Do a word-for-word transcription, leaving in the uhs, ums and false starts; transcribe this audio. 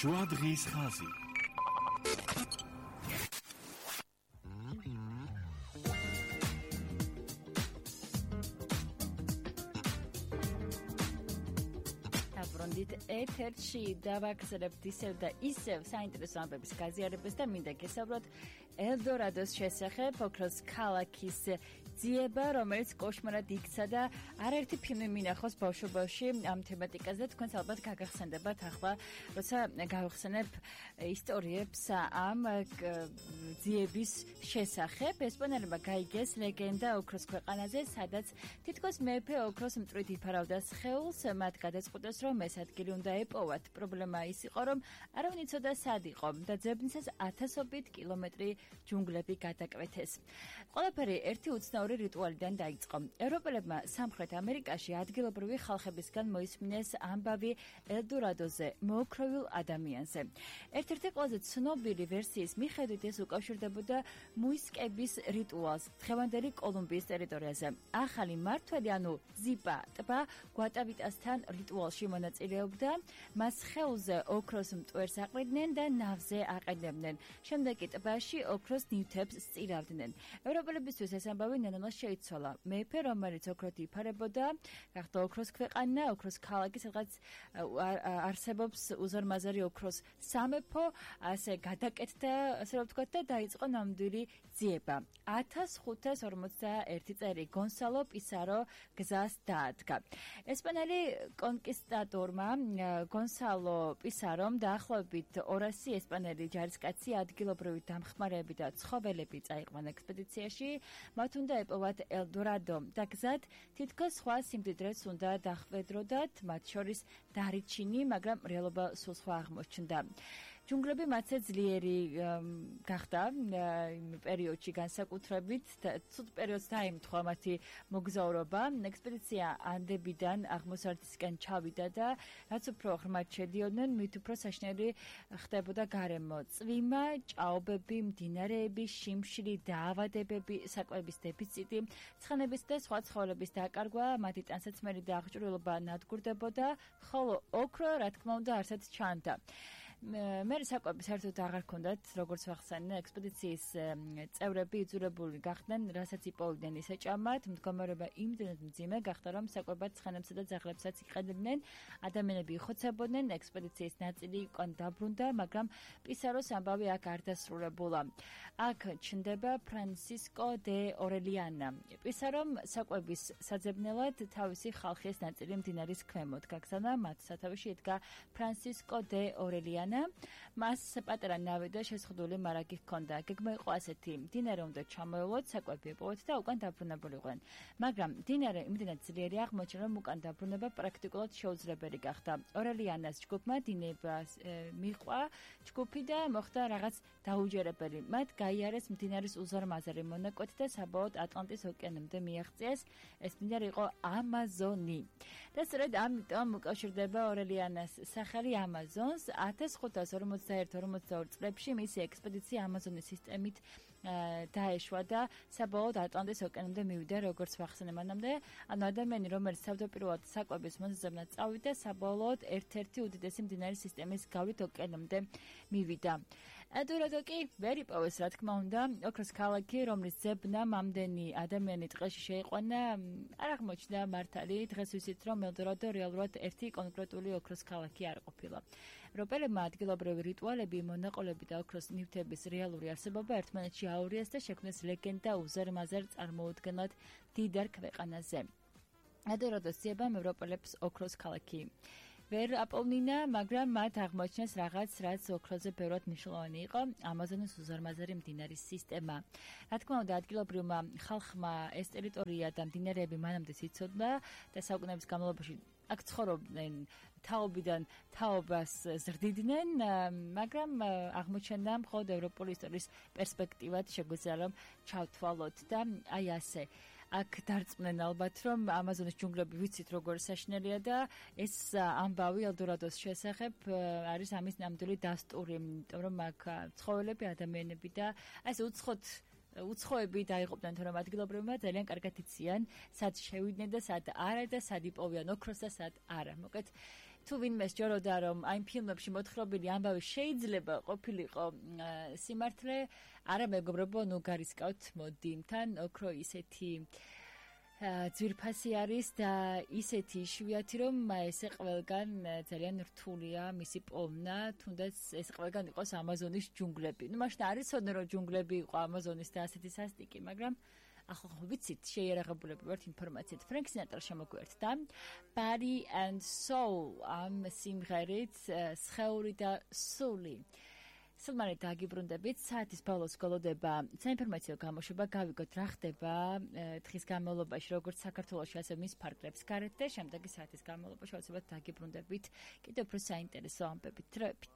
შუა დღის ხაზი. ბრონდით ეთერში დავაგრძელებთ ისევ და ისევ საინტერესო ამბების გაზიარებას და მინდა გესაუბროთ ელდორადოს შესახებ, ოქროს ქალაქის ძიება, რომელიც კოშმარად იქცა და არაერთი ფილმი მინახავს ბავშვობაში ამ თემატიკაზე. თქვენს ალბათ გაგახსენდებათ ახლა, როცა გავხსენებ ისტორიებს ამ ძიების შესახებ. ესპანელებმა გაიგეს ლეგენდა ოქროს ქვეყანაზე, სადაც თითქოს მეფე ოქროს მწვრით იფარავდა სხეულს, მათ გადაწყვიტეს, რომ ეს ადგილი უნდა ეპოვათ. პრობლემა ის იყო, რომ არავინ იცოდა სად იყო და ძებნისას ათასობით კილომეტრი ჯუნგლები გადაკვეთეს. ყველაფერი ერთი უცნაური რიტუალიდან დაიწყო. ევროპელებმა სამხრეთ ამერიკაში ადგილობრივი ხალხებისგან მოისმინეს ამბავი ელდორადოზე, მოოქროვილ ადამიანზე. ერთ-ერთი ყველაზე ცნობილი ვერსიის მიხედვით ეს უკავშირდებოდა მუისკების რიტუალს დღევანდელი კოლუმბიის ტერიტორიაზე. ახალი მმართველი, ანუ ზიპა ტბა გვატავიტასთან რიტუალში მონაწილეობდა, მას ხეულზე ოქროს მტვერს აყრიდნენ და ნავზე აყენებდნენ. შემდეგ კი ტბაში ოქროს ნივთებს სწირავდნენ. ევროპელებისთვის ეს ამბავი ნელ-ნელა შეიცვალა. მეფე, რომელიც ოქროთ იფარებოდა, გახდა ოქროს ქვეყანა, ოქროს ქალაქი, სადაც არსებობს უზარმაზარი ოქროს სამეფო, ასე გადაკეთდა, ასე რომ ვთქვათ, და დაიწყო ნამდვილი ძიება. ათას ხუთას ორმოცდაერთი წელი გონსალო პისარო გზას დაადგა. ესპანელი კონკისტადორმა გონსალო პისარომ დაახლოებით ორასი ესპანელი ჯარისკაცი, ადგილობრივი დამხმარეები და ცხოველები წაიყვანა ექსპედიციაში. მათ უნდა ეპოვათ ელდორადო და გზად თითქოს სხვა სიმდიდრეც უნდა დახვედროდათ, მათ შორის დარიჩინი, მაგრამ რეალობა სულ სხვა აღმოჩნდა. ჯუნგლები მათზე ძლიერი გახდა იმ პერიოდში განსაკუთრებით, ცუდ პერიოდს დაემთხვა მათი მოგზაურობა. ექსპედიცია ანდებიდან აღმოსავლეთისკენ ჩავიდა და რაც უფრო ღრმად შედიოდნენ, მით უფრო საშინელი ხდებოდა გარემო. წვიმა, ჭაობები, მდინარეები, შიმშილი, დაავადებები, საკვების დეფიციტი, ცხენების და სხვა ცხოველების დაკარგვა, მათი ტანსაცმელი და აღჭურვილობა ნადგურდებოდა, ხოლო ოქრო, რა თქმა უნდა, არსად ჩანდა. მე საკვები საერთოდ აღარ ქონდათ, როგორც ვახსენე, ექსპედიციის წევრები იძულებული გახდნენ, რასაც იპოვდნენ ისე ჭამათ. მდგომარეობა იმდენად მძიმე გახდა, რომ საკვებად ცხენებსა და ძაღლებსაც იყენებდნენ. ადამიანები იხოცებოდნენ, ექსპედიციის ნაწილი უკან დაბრუნდა, მაგრამ პისაროს ამბავი აქ არ დასრულებულა. აქ ჩნდება ფრანსისკო დე ორელიანა. პისარომ საკვების საძებნელად თავისი ხალხის ნაწილი მდინარის ქვემოთ გაგზავნა, მათ სათავეში ედგა ფრანსისკო დე ორელიანა. მას პატარა ნავი და შეზღუდული მარაგი ჰქონდა. გეგმა იყო ასეთი: მდინარე უნდა ჩამოევლოთ, საკვები ეპოვოთ და უკან დაბრუნებულიყვნენ. მაგრამ მდინარე იმდენად ძლიერი აღმოჩნდა, რომ უკან დაბრუნება პრაქტიკულად შეუძლებელი გახდა. ორელიანას ჯგუფმა დინებას მიჰყვა ჯგუფი და მოხდა რაღაც დაუჯერებელი. მათ გაიარეს მდინარის უზარმაზარი მონაკვეთი და საბოლოოდ ატლანტის ოკეანემდე მიაღწიეს. ეს მდინარე იყო ამაზონი. და სწორედ ამიტომ უკავშირდება ორელიანას სახელი ამაზონს. ათას ხუთას ორმოცდაერთი ორმოცდაორი წლებში მისი ექსპედიცია ამაზონის სისტემით დაეშვა და საბოლოოდ ატლანტის ოკეანემდე მივიდა, როგორც ვახსენე მანამდე. ანუ ადამიანი, რომელიც თავდაპირველად საკვების მონაზრებად წავიდა, საბოლოოდ ერთ-ერთი უდიდესი მდინარის სისტემის გავლით ოკეანემდე მივიდა. ელდორადო კი ვერ იპოვეს, რა თქმა უნდა, ოქროს ქალაქი, რომლის ძებნამ ამდენი ადამიანი ტყეში შეიყვანა, არ აღმოჩნდა მართალი. დღეს ვიცით, რომ ელდორადო რეალურად ერთი კონკრეტული ოქროს ქალაქი არ ყოფილა. ევროპელებმა ადგილობრივი რიტუალები, მონაყოლები და ოქროს ნივთების რეალური არსებობა ერთმანეთში აურიეს და შექმნეს ლეგენდა უზარმაზარ წარმოუდგენლად დიდარ ქვეყანაზე. ელდორადოს ძიებამ ევროპელებს ოქროს ქალაქი ვერ აპოვნინა, მაგრამ მათ აღმოჩნეს რაღაც, რაც ოქროზე ბევრად მნიშვნელოვანი იყო, ამაზონის უზარმაზარი მდინარის სისტემა. რა თქმა უნდა, ადგილობრივმა ხალხმა ეს ტერიტორია და მდინარეები მანამდე იცოდა და საუკუნეების განმავლობაში აქ ცხოვრობდნენ, თაობიდან თაობას ზრდიდნენ, მაგრამ აღმოჩნდა მხოლოდ ევროპული ისტორიის პერსპექტივად შეგვიძლია რომ ჩავთვალოთ და აი ასე. აქ დარწმუნენ ალბათ, რომ ამაზონის ჯუნგლები ვიცით როგორ საშინელია და ეს ამბავი ელდორადოს შესახებ არის ამის ნამდვილი დასტური, იმიტომ რომ აქ ცხოველები, ადამიანები და ასე უცხოთ უცხოები დაიღუპნენ, თორემ ადგილობრივებმა ძალიან კარგად იციან, სად შევიდნენ და სად არა და სად იპოვიან ოქროს და სად არა. მოკლედ თუ ვინმე სჯეროდა რომ აი იმ ფილმებში მოთხრობილი ამბავი შეიძლება ყოფილიყო სიმართლე, არა მეგობრებო, ნუ გარისკავთ მოდი თან ოქრო ისეთი ძვირფასი არის და ისეთი იშვიათი რომ ესე ყველგან ძალიან რთულია მისი პოვნა, თუნდაც ეს ყველგან იყოს ამაზონის ჯუნგლები. ნუ მაშინ არ იცოდნენ რომ ჯუნგლები იყო ამაზონის და ასეთი სასტიკი, მაგრამ ახლა ხო ვიცით, შეიარაღებულები ვართ ინფორმაციით. ფრენკ სინატრა შემოგვიერთდა Body and Soul ამ სიმღერით სხეული და სული. სულმანი დაგიბრუნდებით, საათის ბოლოს გოლოდება საინფორმაციო გამოშვება, გავიგოთ რა ხდება დღის განმავლობაში, როგორც საქართველოში, ასევე მის ფარგლებს გარეთ და შემდეგი საათის განმავლობაში, აუცილებლად დაგიბრუნდებით კიდევ უფრო საინტერესო ამბებით, დროებით.